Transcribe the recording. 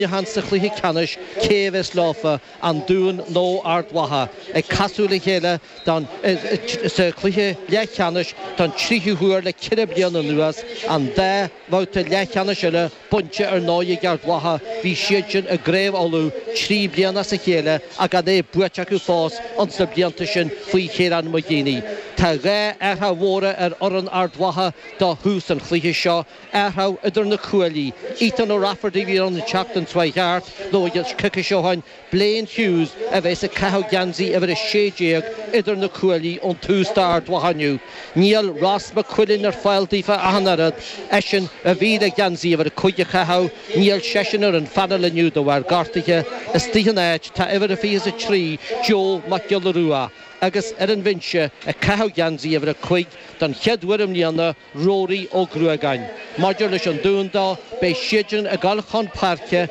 Muineachán sa chluiche ceannais, cé a bheas leofa, an Dún nó Ard Mhacha, ag casadh le chéile don sa chluiche leathcheannais don tríú huair le 4 bliana anuas, an dá bhabhta leathcheannais eile bainte ar ndóigh ag Ard Mhacha, bhí siad sin i gCraobh Uladh 3 bliana as a chéile ach gan é buaite acu fós ins na blianta sin faoi Chiarán McGeeney. Tá 2 athrach mhóra ar fhoireann Ard Mhacha do thús an chluiche seo. Athrach idir na cuaillí. Ethan O'Rafferty a bhí ann an tseachtain seo chuaigh thart, nó coicís ó shin, Blaine Hughes a bheas ag caitheamh geansaí uimhir 16 idir na cuaillí ón tús d'Ard Mhacha inniu. Níl Ross McQuillan ar fáil daofa ach an oiread, eisean a bhí le geansaí uimhir 5 a chaitheamh, níl seisean ar an phainéal inniu de bharr gortaithe. Istigh ina áit tá uimhir 23 Joe Mac Giolla Rua agus ar an bhinse ag caitheamh geansaí uimhir 5 don chéad uair i mbliana, Rory Ó Gruagáin. Maidir leis an Dún dó, beidh siadsan ag dul chun páirce.